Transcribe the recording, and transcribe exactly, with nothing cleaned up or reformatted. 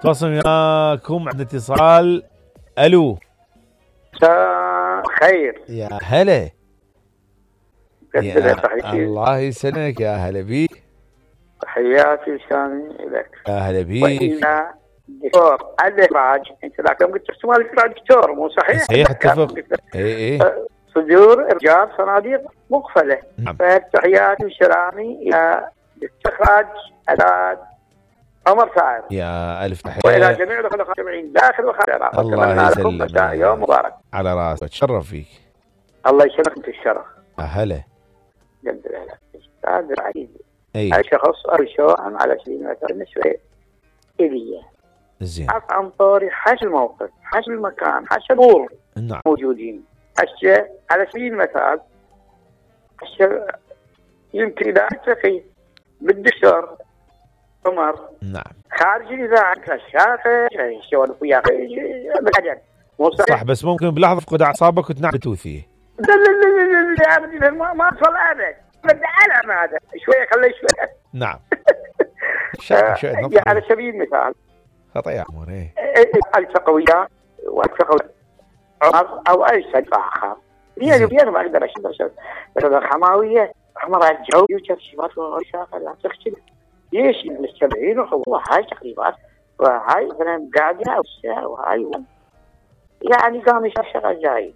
تواصل وياكم عندنا اتصال. الو مساء خير. يا هلا. يا الله يسلمك. يا هلا بيك. تحياتي وسامي لك. يا هلا بيك. دكتور الإخراج، أنت ذاك يوم قلت احتمال الإخراج دكتور، مو صحيح؟ صحيح اتفق. اي اي صدور إرجاع صناديق مقفلة. نعم. فتحياتي وسلامي إلى الاستخراج الأستاذ عمر سعد. يا ألف تحية. وإلى جميع الأخوة المستمعين داخل وخارج. الله يسلمك. يوم مبارك. على راسك. اتشرف فيك. الله يسلمك في الشرف. هلا. جد الهلا. أستاذ العزيز. اي. الشخص أرشوه على سبيل المثال بالنسبة إلي. زين. عن طوري حش الموقف، حش المكان، حش الأمور. نعم. موجودين. حش على سبيل المثال. حش يمكن إذا أتفقي بالدكتور عمر. نعم. خارج الإذاعة كشافة يسولف وياه بالعجل. صح، بس ممكن بلحظة فقد أعصابك وتنام بتوثيه. لا لا لا لا لا ما ما أصل أبد. بدي ألعب هذا شوية خليه شوية. نعم. يعني على سبيل المثال. خطأ يا عمر. إيه. ألتقى وياه وألتقى عمر أو أي صديق آخر. بيني وبينه ما أقدر أشوف بس الحماوية عمر الجو يوجد شباب وشاخة لا تختلف. ليش المستمعين وهو هاي تقريبات وهاي مثلا قاعدة أو ساعة وهاي يعني قام يشغل جاي